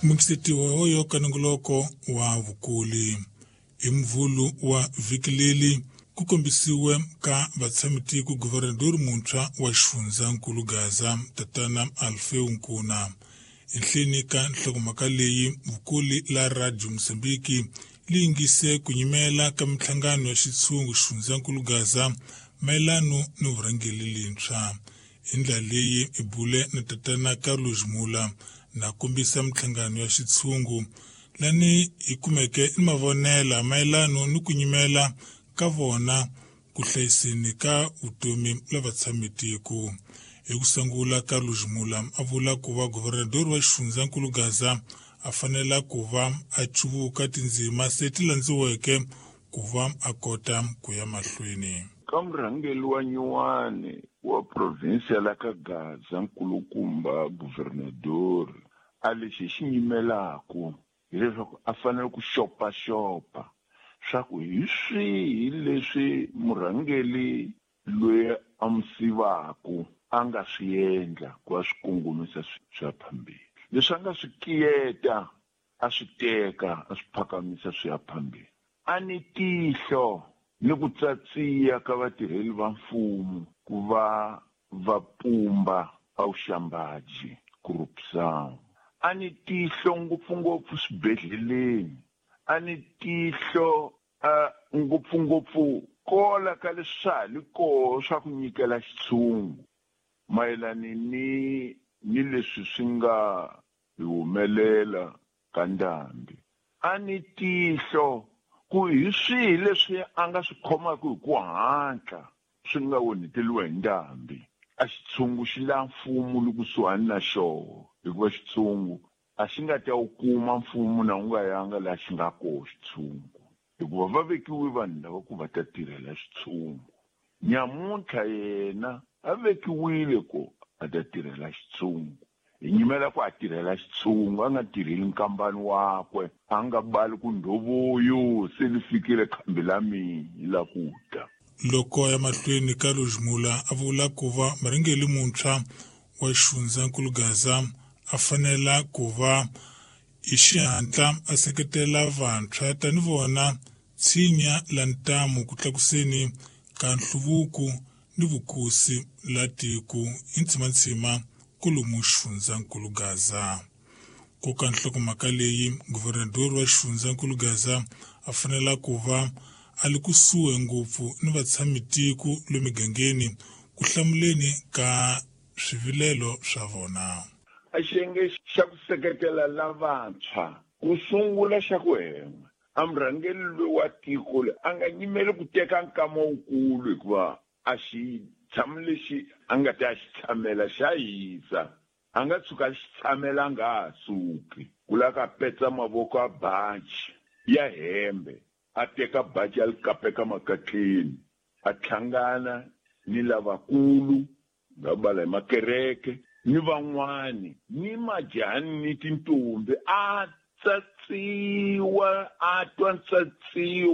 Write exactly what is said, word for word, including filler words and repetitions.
Mukisetiwa hoyo kanongoloko wa vukuli hi mvulu wa vhiki leri ku kombisiwe ka vatshamitiko guvernador muntshwa wa xifundzankulu Gaza tatana Alfeu Nkuna. Enhleni ka nhlokomhaka leyi vukuli la Radio Mozambique li yingise ku nyimela ka minhlangano ya xitshungu xifundzankulu Gaza mayelano ni vurhangeri lintshwa. Hi ndlela leyi i bule na tatana Carlos Mula na kombisa minhlangano ya xitshungu lani hi kumeke ni mavonela mayelano ni ku nyimela ka vona ku hlayiseni ka vutomi la vatshamitiko. Hi ku sungula Carlos Mula a vula ku va guvernador wa xifundzankulu Gaza a fanela ku va a cuvuka tindzima se ti landziweke ku va a kota ku ya mahlweni. Ka murhangeri wa nyuwani wa provinsia la ka Gaza nkulukumba guvernador a lexi xi nyimelaku hileswaku a fanele ku xopaxopa swa ku hi swihi leswi murhangeri loyi a mu sivaku a nga swi endla ku va swi kongomisa swi ya phambili, leswi a nga swi kiyeta a swi teka a swi phakamisa swi ya phambili. A ni tihlo ni ku tsatsiya ka vatirheli va mfumo ku va va pumba a vuxambaji corruption. A ni tihlo ngopfungopfu swibedhleleni, a ni tihlo a ngopfungopfu kola ka leswi swa ha li koho swa ku nyikela xitshungu mayelana ni ni leswi swi nga hi humelela ka ndhambi. A ni tihlo ku hi swihi leswi a nga swi khomaka hi ku hatla swi nga onheteliwa hi ndhambi. A xitshungu xi la mfumo li kusuhani na xoho, hikuva xitshungu a xi nga ta wu kuma mfumo na wu nga yanga laha xi nga koho xitshungu, hikuva va vekiwe vanhu lava ku va ta tirhela xitshungu. Nyamuntlha yena a vekiwile ku a ta tirhela xitshungu, hi nyimela ku a tirhela xitshungu, a nga tirheli nkambani wakwe, a nga bali ku ndhovuyo se li fikile khambi la mina la ku ta. Loko ya mahlweni Carlos Mula a vula ku va murhangeri muntshwa wa xifundzankulu Gaza a fanela ku va hi xihatla a seketela vantshwa tani vona tshinya la ntamu ku tlakuseni ka nhluvuko ni vukosi la tiko hi ntsimantsima kolomu xifundzankulu Gaza. Ku ka nhlokomhaka leyi guvernador wa xifundzankulu Gaza a fanela ku va a li kusuhi ngopfu ni vatshamitiko le migangeni ku hlamuleni ka swivilelo swa vona. A xiyenge xa ku seketela lavantshwa ku sungula xa ku hema a murhangeri loyi wa tiko loyi a nga nyimeli ku teka nkama wukulu, hikuva a xi tshami lexi a nga ta xi tshamela xa hisa, a nga tshuka a xi tshamela a nga ha suki. Ku lava ka petsa mavoko a baji ya hembe, a teka baji a li kapeka makatleni, a hlangana ni lavakulu nga bala hi makereke ni van'wani ni majani ni tintombi, a tsatsiwa a twa tsatsiwa